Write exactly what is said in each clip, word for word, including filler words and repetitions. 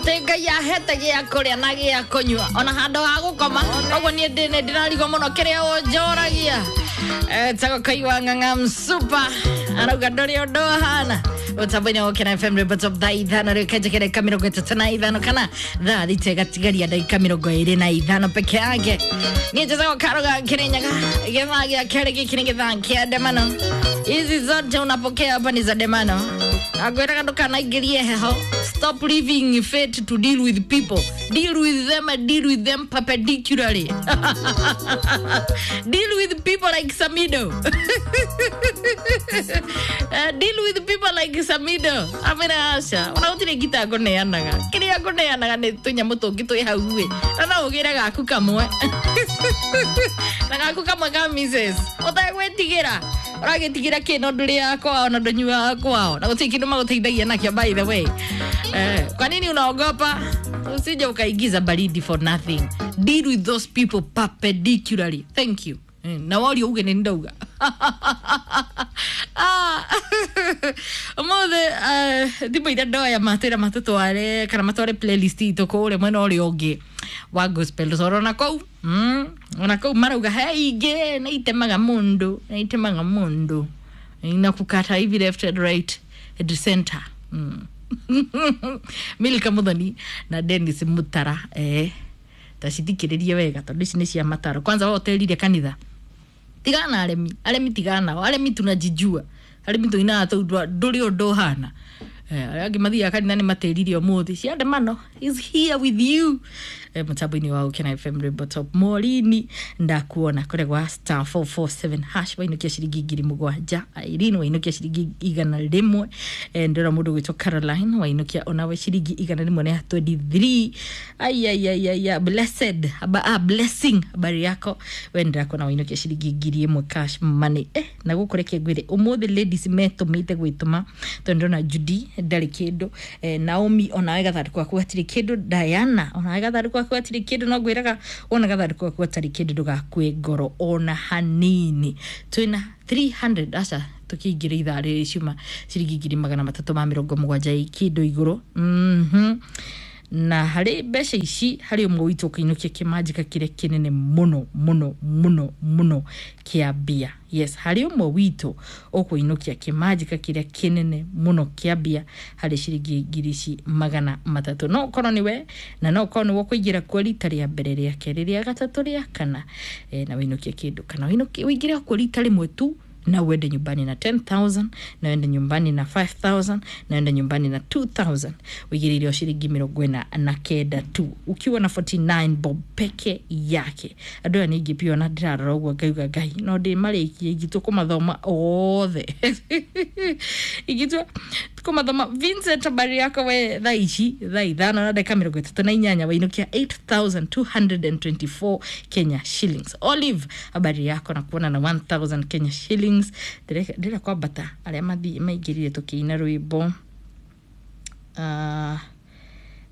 Atä Ngai ahete gä a kå rä a na gä a kå nyua ona handå ha gå koma koguo niä ndä nä ndärarigwo må no kä rä a å njoragia. Etagwo Kaigwa Ng'ang'a Msupa arauga ndå rä å ndå hana mutambo-inä wa Kena F M rwĩmbo top thaa ithano rä kenjeke ndagä ka mä rongo ĩtatũ na ithano kana thaa thita ĩgatigaria ndagä ka mä rongo ä rä na ithano peke yake. Niä njĩtagwo Karoga Kĩrĩnyaga. Gĩthaa gĩa kerĩ gĩkĩ nĩ gĩthaa kĩa ndemano. Hizi zote unapokea hapa ni za demano. Akwĩraga ndũkanaingĩrie heho. Stop living fate to deal with people. Deal with them and deal with them perpendicularly. Deal with people like Samido. Uh, deal with people like Samido. Amera aca ona gũtirĩ ngita ngũneanaga. Kĩrĩa ngũneanaga nĩ tũnyamũ tũngĩ twĩ hau ĩ, na no ũgĩre gaku kamwe na gaku kamwe ka Missus ũtegwĩtigĩra. Ũragĩtigĩra kĩ no ndũrĩaga kwao na ndũnyuaga kwao na gũtirĩ kĩndũ magũteithagia nakĩo, by the way. Eh, kwa nini unaogopa? Usije ukaingiza baridi for nothing. Deal with those people perpendicularly. Thank you. Eh, na wario uge nĩ ndauga. Ah, ũmũthĩ thimũ iria ndoya matwĩra matũtware kana matware playlist itũ kũrĩa mwena ũrĩa ũngĩ wa gospel toro na kũu. Mm, ona kũu marauga he ingĩ nĩ itemaga mũndũ, nĩ itemaga mũndũ, inakukata hivi left and right and center. Mm. Milka Muthoni na Dennis Mutara, eh tacithikĩrĩrie wega tondũ ici nĩ cia mataro. Kwanza we ũterire kanitha tigana na aremi, aremi tigana nao, aremi tunajijua, aremi tuinaga tũu ndũrĩ ũndũ ũhana. Eh, arĩa angĩ mathiaga kanitha nĩ matĩririe ũmũthĩ. Ciandamano is here with you. Eh, mũtambo-inĩ wa Ũkena F M rwĩmbo top Morini ndakuona kũrĩa gwa star four four seven hash wainũkia ciringi ngiri mũgwanja. Irene wainũkia ciringi igana rĩmwe. Eh, ndĩrona mũndũ gwĩtwo Caroline wainũkia onawe ciringi igana rĩmwe na twenty three. Ai ai ai ai, blessed aba, ah, blessing habari yako we, ndĩrakuona wainũkia ciringi ngiri ĩmwe cash money. Eh, na gũkũ reke ngwĩre ũmũthĩ ladies metũmĩte gwĩtũma tondũ ndĩrona Judy ndarĩ kĩndũ, eh, Naomi onawe gathandũkũ gaku gatirĩ kĩndũ, Diana onawe gathandũkũ gaku gatirĩ kĩndũ. No ngwĩraga wona gathandũkũ gaku gatarĩ kĩndũ ndũgakue ngoro ona hanini. Twĩna three hundred aca tũkĩingĩra ithaa rĩrĩ ciuma ciringi ngiri magana matatũ ma mĩrongo mũgwanja ĩ kĩndũ igũrũ. Mhm. Na harĩ mbeca ici harĩ ũmwe witũ ũkĩinũkia kĩmanjĩka kĩrĩa kĩnene mũno mũno mũno mũno kĩa mbia. Yes, harĩ ũmwe witũ ũkũinũkia kĩmanjĩka kĩrĩa kĩnene mũno kĩa mbia harĩ ciringi ngiri ici magana matatũ. No ũkorwo nĩwe na no ũkorwo nĩwe ũkũingĩra kuo rita rĩa mbere, rĩa kerĩ, rĩa gatatũ, rĩa kana, eh, na wĩinũkie kĩndũ kana wĩinũkie wĩingĩre kuo rita rĩmwe tu na uende nyumbani na ten thousand, na uende nyumbani na five thousand, na uende nyumbani na two thousand. Wigiririo shilingi mĩrongo ĩna na kenda tu ukiwa na forty nine bob peke yake. Andũ aya ningĩ pia ona ndĩrarora ũguo ngauga Ngai no ndĩmarĩkie ingĩtua kũmathoma othe. Ingĩtua kũmathoma. Vincent habari yako we, thaa ici thaa ithano na ndagĩka mĩrongo ĩtatũ na inyanya wainũkia eight thousand two hundred and twenty four Kenya shillings. Olive habari yako na kuona na one thousand Kenya shillings. Ndĩrenda kwambata arĩa mathiĩ maingĩrire tũkĩina rwĩmbo. Uh,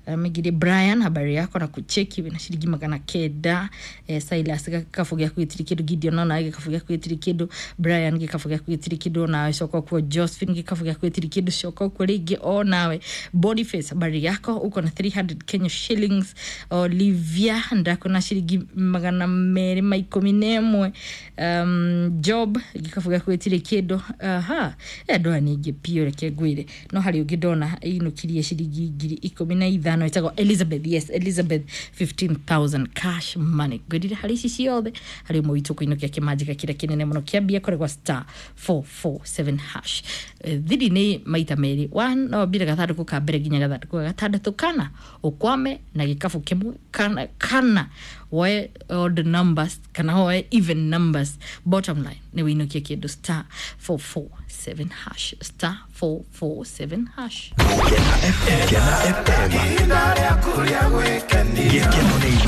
maingĩrire Brian habari yako na kucheki wĩna ciringi magana kenda. Eh, Silas gĩkabu gĩaku gĩtirĩ kĩndũ, Gideon onawe gĩkabu gĩaku gĩtirĩ kĩndũ, Brian gĩkabu gĩaku gĩtirĩ kĩndũ onawe, coka kuo Josephine gĩkabu gĩaku gĩtirĩ kĩndũ, coka kuo rĩngĩ onawe. Boniface habari yako uko na three hundred Kenya shillings. Olivia ndakona ciringi magana merĩ ma ikũmi na ĩmwe. Um, Job gĩkabu gĩaku gĩtirĩ kĩndũ. Aha, andũ aya nĩ aingĩ biũ reke ngwĩre. No harĩ ũngĩ ndona ainũkirie ciringi ngiri ikũmi na ithano ĩtagwo Elizabeth. Yes, Elizabeth fifteen thousand cash money. Ngwĩrire harĩ ici ciothe harĩ ũmwe witũ kũinũkia kĩmanjĩka kĩrĩa kĩnene mũno kĩa mbia kũrĩ gwa star four four seven hash. Thiri nĩ maita merĩ, one no wambire gathandũkũ ka mbere nginya gathandũkũ ga gatandatũ kana ũkwame na gĩkabu kĩmwe kana, kana woe odd numbers kana woe even numbers. Bottom line nĩ wĩinũkie kĩndũ star four four seven hash, star four four seven hash. Kena F M, Kena F M. Gĩkeno nĩ